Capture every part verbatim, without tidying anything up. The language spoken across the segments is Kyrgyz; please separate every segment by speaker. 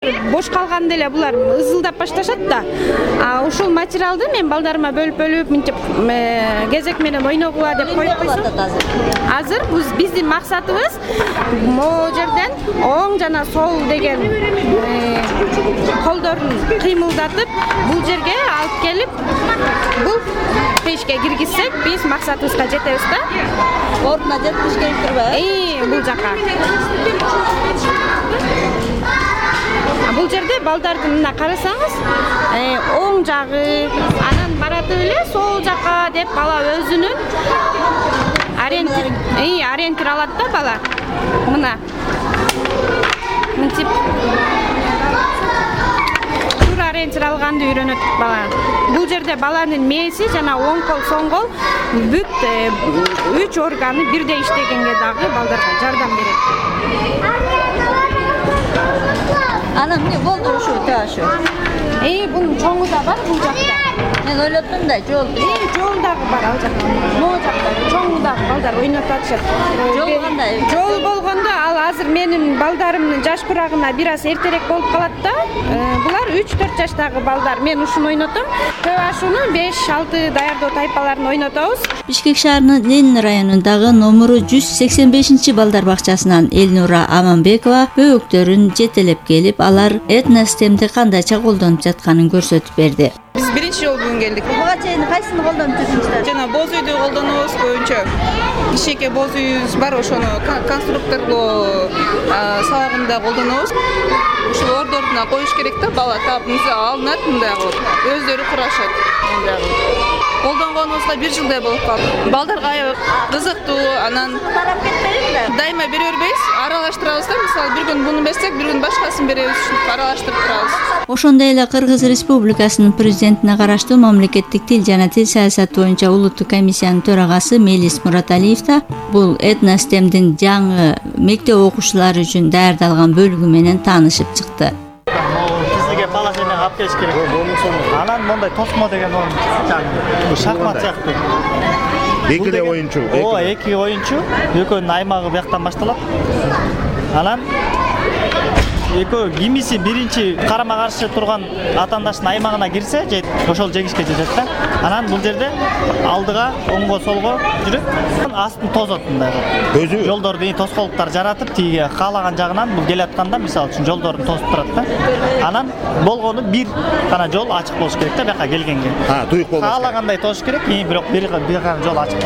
Speaker 1: Бош калганда эле булар ызылдап башташат да. А ушул материалды мен балдарыма бөлүп-бөлүп мынтип кезек менен ойногула деп коюп койсом. Азыр биздин максатыбыз могу жерден оң жана сол деген колдорун кыймылдатып бул жерге алып келип бул печке киргизсек биз максатыбызга жетебиз да.
Speaker 2: Ордуна жетиш керек турбайбы?
Speaker 1: Ии, бул жака. Бул жерде балдардын мына карасаңыз, оң жагы, анан баратып эле сол жака деп бала өзүнүн ориентир, ии, ориентир алат да бала. Мына. Мынтип туура ориентир алганды үйрөнөт бала. Бул жерде баланын мээси жана оң кол, соң кол бүт үч органы бирдей иштегенге дагы балдарга жардам берет.
Speaker 2: Анан эмне болду ушу ташы?
Speaker 1: Эй, бунун чоңу да бар бул жакта.
Speaker 2: Мен ойлоттум да, жол.
Speaker 1: Эй, жол дагы бар ал жакта. Могу жакта чоңу дагы балдар ойноп атышат.
Speaker 2: Жол кандай?
Speaker 1: Жол болгондо ал азыр менин балдарымдын жаш курагына бир аз эртерээк болуп калат да. Булар үч төрт жаштагы балдар. Мен ушуну ойнотом. Көп ашууну беш алты даярдоо тайпаларын ойнотобуз.
Speaker 2: Бишкек шаарынын Ленин районундагы номуру жүз сексен бешинчи балдар бакчасынан Элнура Аманбекова бөөктөрүн жетелеп келип, алар этностемди кандайча колдонуп жатканын көрсөтүп берди.
Speaker 3: Биз биринчи жолу бүгүн келдик.
Speaker 2: Буга чейин кайсыны колдонуп жүрдүңүздөр?
Speaker 3: Жана боз үйдү колдонобуз көбүнчө. Кичээке боз үйүбүз бар, ошону конструкторлоо сабагында колдонобуз. Ушул ордордуна коюш керек да, бала таап мыйза алынат, мындай кылып. Өздөрү курашат. Колдонгонубузга бир жылдай болуп калды. Балдарга аябай кызыктуу, анан
Speaker 2: тарап кетпейби да?
Speaker 3: Дайыма бере бербейбиз, аралаштырабыз да. Мисалы бир күн буну берсек, бир күн башкасын беребиз, аралаштырып турабыз.
Speaker 2: Ошондой эле Кыргыз Республикасынын президентине караштуу мамлекеттик тил жана тил саясаты боюнча улуттук комиссиянын төрагасы Мелис Мураталиев да бул этностемдин жаңы мектеп окуучулары үчүн даярдалган бөлүгү менен таанышып чыкты.
Speaker 4: Сизге положение алып келиш керек. Анан мондай тосмо деген он шахмат сыяктуу.
Speaker 5: Эки эле оюнчу.
Speaker 4: Ооба, эки оюнчу, экөөнүн аймагы бияктан башталат. Анан экөө кимиси биринчи карама каршы турган атаандаштын аймагына кирсе, ошол жеңишке жетет да. Анан бул жерде алдыга, оңго, солго жүрүп, астын тозот мындай кылып.
Speaker 5: Өзү
Speaker 4: жолдорду тоскоолуктар жаратып, тиги каалаган жагынан бул келатканда, мисалы үчүн жолдорун тосуп турат да. Анан болгону бир гана жол ачык болуш керек да, бияка келгенге.
Speaker 5: Ha, туюк болбош.
Speaker 4: Каалагандай тосуш керек, бирок бир гана жол ачык.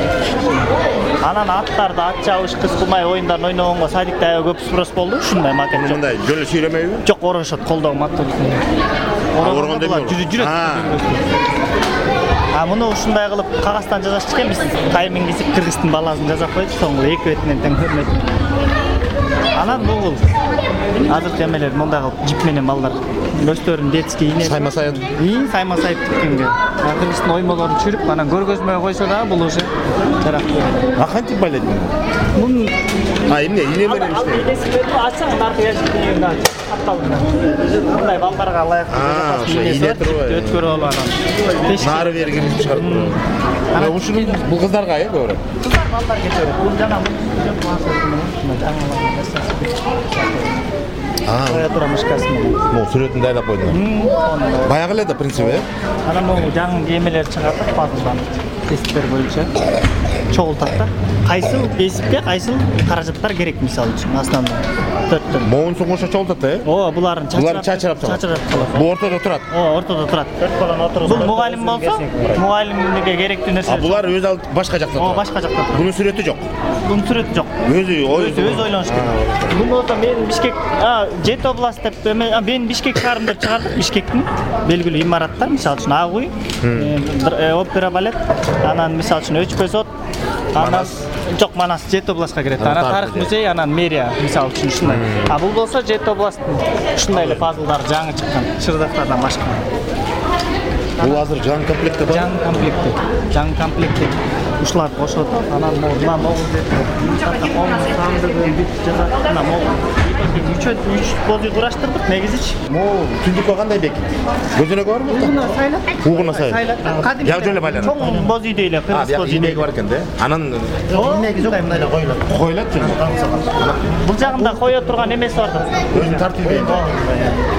Speaker 4: Анан аттарды ат чабыш, кыз кумай оюндарын ойногонго садикте аябай көп спрос болду. Ушундай макет жок.
Speaker 5: Мындай жол сүйрөмөйбү?
Speaker 4: Жок, орошот, колдоо маттуу.
Speaker 5: Оргондо
Speaker 4: жүрөт. А муну ушундай кылып кагаздан жазачак экен, биз таймин кесип кыргыздын баласын жазап койдук, соңку эки бетинен тең көрмөдүк. Анан бул азыркы эмелер мындай кылып жип менен балдар өздөрүнүн детский ийне
Speaker 5: сайма сайын
Speaker 4: ии сайма сайып тиккенге кыргыздын оймолорун чүрүп анан көргөзмөгө койсо да бул уже жарак.
Speaker 5: А кантип байлайт муну?
Speaker 4: Мун
Speaker 5: А эмне ийне менен иштейт?
Speaker 4: Ачсаң наркы яшыктын капталган. Мындай балдарга ылайыктуу өткөрүп алып анан
Speaker 5: нары бери киргизип чыгарып турат. Анан ушуну бул кыздарга э көбүрөөк.
Speaker 4: Кыздар балдар кетет. Бул жана
Speaker 5: А,
Speaker 4: коя тура мышкасы менен.
Speaker 5: Могу сүрөтүн дайлап койдуңар. Баягы эле да принциби э?
Speaker 4: Анан могу жаңы кемелер чыгартып, пазылдан тесттер боюнча чогултат да. Кайсыл кесипке кайсыл каражаттар керек, мисалы үчүн основной төрттөн.
Speaker 5: Моун соң ошо чогултат э?
Speaker 4: Ооба, буларын
Speaker 5: Булар чачырап
Speaker 4: чачырап калат.
Speaker 5: Бу ортодо турат.
Speaker 4: Ооба, ортодо турат. Төрт баланы отургузуп. Бул мугалим болсо, мугалимге керектүү нерсе.
Speaker 5: А булар өз алып башка жакта турат.
Speaker 4: Ооба, башка жакта турат.
Speaker 5: Бунун сүрөтү жок.
Speaker 4: Бунун сүрөтү жок.
Speaker 5: Өзү
Speaker 4: Өзү өз ойлонуш керек. Бул болсо мен Бишкек, а, Жет область деп, мен Бишкек шаарында деп чыгардык. Бишкектин белгилүү имараттар, мисалы үчүн Ак үй, опера балет, анан мисалы үчүн Өчпө сот, анан жок, Манас Жет областка кирет. Анан тарых музей, анан мэрия, мисалы үчүн ушундай. А бул болсо Жет областтын ушундай эле пазлдар жаңы чыккан, чырдактардан башка.
Speaker 5: Бул азыр жаңы комплектте бар.
Speaker 4: Жаңы комплектте. Жаңы комплектте. ушуларды кошот, анан могу мына могу деп сандыгын бүт жазат, мына могу үч үч боз үй кураштырдык негизичи.
Speaker 5: Могу түндүккө кандай бекит? Көзөнөгү барбы?
Speaker 4: Угуна сайлап.
Speaker 5: Угуна сайлап.
Speaker 4: Кадимки
Speaker 5: Як жолу байланат.
Speaker 4: чоң боз үйдөй эле,
Speaker 5: А,
Speaker 4: кыргыз боз
Speaker 5: бияк
Speaker 4: үйдөй.
Speaker 5: инеги бар экен да. Анан
Speaker 4: Инеги жок, мындай эле коюлат.
Speaker 5: койлот жөн.
Speaker 4: Бул жагында кое турган эмеси бар да.
Speaker 5: Өзүн тартып ийбейт.